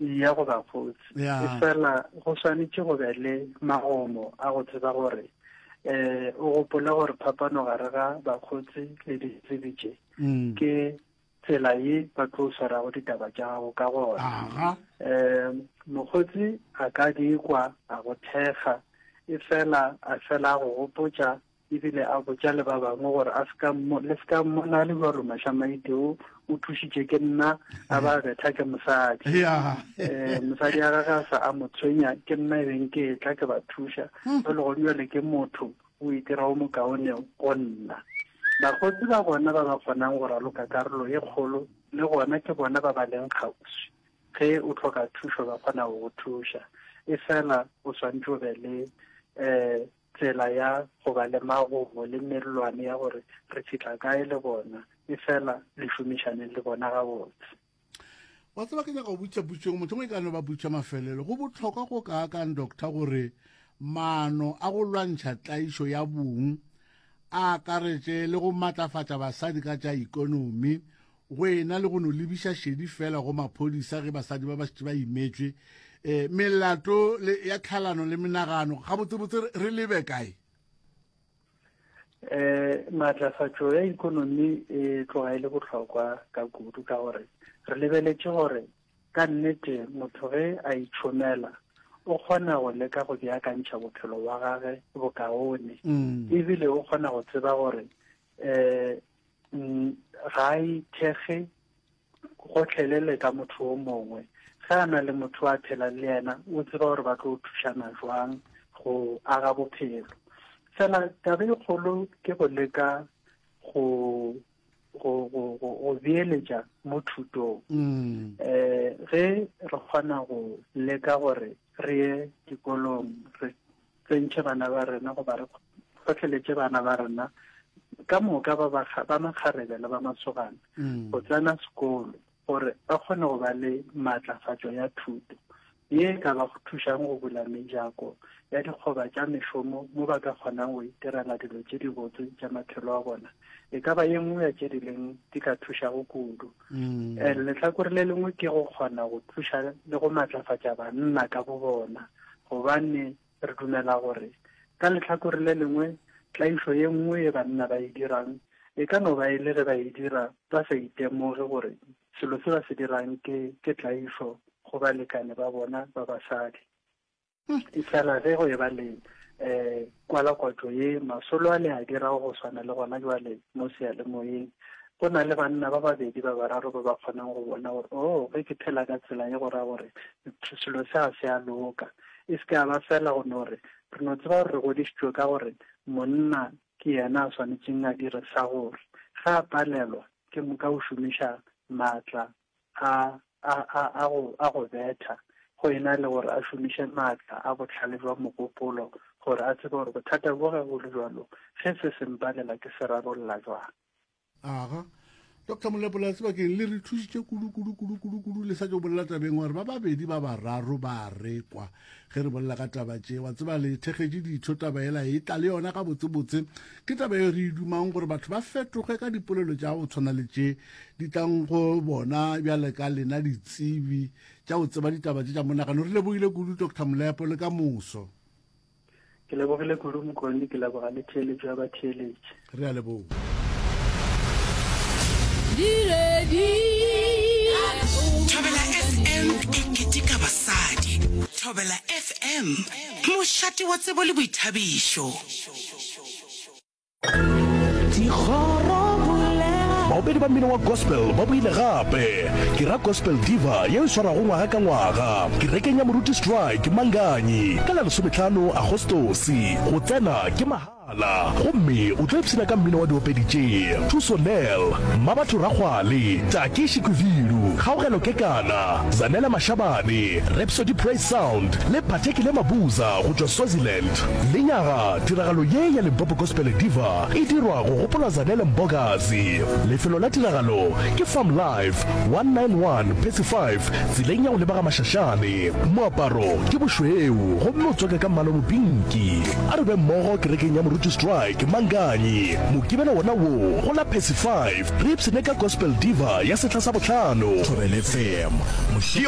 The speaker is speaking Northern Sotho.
Ya go bakgotsi. E fela go swanetše go be le magomo a go tseba gore um o gopole gore phapano gare ga bakgotsi le ditsebi tše mm. ke tsela ye ba tlo swarago ditaba tša gago ka gona. Um mokgotsi a ka di kwa a go thekga e fela a fela a go gopotša ebile a botša le ba bangwe gore a seka le seka mmona le jalo Mashamaite o o thušitše ke nna a ba betha ke mosadi eh mosadi ya gagwe a sa a mo tshwenya ke nna e beng ke tla ke ba thuša hmm. jalo go jale ke motho o itira o mokaone go nna bakgotsi ba gona ba ba kgonang go raloka karolo e kgolo le gona ke bona ba ba leng kgauswi ge o tlhoka thušo ba kgona go go thuša e fela o swantse o be le um tsela ya go ba le magomo le mellwane ya gore re fihla kae le bona, efela le šomišaneng le bona gabotse. Wa tseba ke nyaka go botša potšo motho e ka no ba potšo mafelelo. Go bohlokwa go kaakang doctor gore maano a go lwantšha tlaišo ya bong a akaretše le go matlafatša basadi ka tša ikonomi go ena le go no lebiša šedi fela go maphodisa ge basadi ba ba šetše ba imetšwe um melato ya tlhalano le menagano gabotsebotse re lebe kae um maatlafatšo ya ikonomi e tloga e le bohlokwa ka kudu ka gore re lebeletše gore ka nnete motho ge a itšhomela o kgona go leka go beakantšha bophelo bwa gage bokaone mm. ebile o kgona go tseba gore um mm, ga a ithekge gotlhelele ka motho o mongwe ge a na le motho a phelang le yena o tseba gore ba tlo thušana jwang go aga bophelo fela taba e kgolo ke go leka go go go go beeletša mo thutong mm. eh ge re kgona go leka gore re ye dikolong re tsentšhe bana ba rena goba re hlohleletše bana ba rena ka moka ba ba makgarebe le ba masogana mm. go tsena sekolo gore ba kgone go ba le maatlafatšo ya thuto ye e ka ba go thušang go bula mejako ya dikgoba tša mešomo mo ba ka kgonang go itirela dilo tše dibotse tša maphelo a bona e ka ba ye nngwe ya tše di leng di ka thušago kudu mm. eh, lehlakore le lengwe ke go kgona go thuša le go maatlafatša banna ka bo bona gobane re dumela gore ka lehlakore le lengwe tlaišo ye nngwe ye banna ba e dirang e ka no ba e le ge ba e dira ba sa itemoge gore selo se ba se dirang ke ke tlaišo go balekane ba bona ba basadi. E fela ge go e ba le um kwalakwatšo ye masolo a le a dirago go swana le gona jwale mo seyalemoyeng go na le banna ba babedi ba bararo ba ba kgonang go bona gore o oh, ge ke phela ka tsela ye go ra gore selo se ga se a loka e se ke a ba fela go no re re no tseba gore re godišitšwe ka gore monna ke yena a swanetšeng a dire sa gore ge a palelwa ke moka o šomiša maatla a a a a go a go betha go ena le gore a šomiše maatla a bohlale jwa mogopolo gore a tsebe gore bothata bo ge go le jalo ge se se mpalela ke se rarolla jwang. Aga. Dr Molepola sebakeng le re thušitše kudu kudu kudu kudu kudu le sa tšo bolela tabeng gore ba babedi ba bararo ba rekwa ge re bolela ka taba tše wa tseba le thekgetše ditho taba ela e tla le yona gabotsebotse ke taba e re e dumang gore batho ba fetoge ka dipolelo tša go tshwana le tše di tlang go bona bjale ka lena ditsebi tša go tseba ditaba tše tša monagano re lebogile kudu dr molepo le ka moso ke lebogile kudu mokone ke leboga le theeletšo ya batheeletši re a leboga Thobela FM e keteka basadi. Thobela FM, mošate wa tsebo le boithabišo. Baopedi ba mmino wa gospel ba boile gape. Ke ra Gospel Diva yeo e swarwago ngwaga ka ngwaga kerekeng ya Moruti Strike Manganyi ka la lesometlhano Agostose. Go tsena ke mahala gomme o tlo ipshina ka mmino wa diopedi tše, Thuso Nel, Mmabatho Rakgwale, Taki Shikwivilu, Kgaogelo Kekana, Zanele Mashabane, Rhapsody Praise Sound le Phathekile Mabuza go tšwa Swaziland. Lenyaga, tiragalo ye ya Limpopo Gospel Diva e dirwa go gopola Zanele Mbokazi. Lefelo la tiragalo ke Farm Life, 191 Percy 5, tseleng ya go leba ga Mashashane. Moaparo ke bošweu gomme o tswake ka mmala o mopinki. A re be mmogo kerekeng ya Moruti Strike, Manganyi, Mokibelo wona wo go la Percy 5, re ipshine ka Gospel Diva ya sehla sa bohlano. Thobela FM, mošate.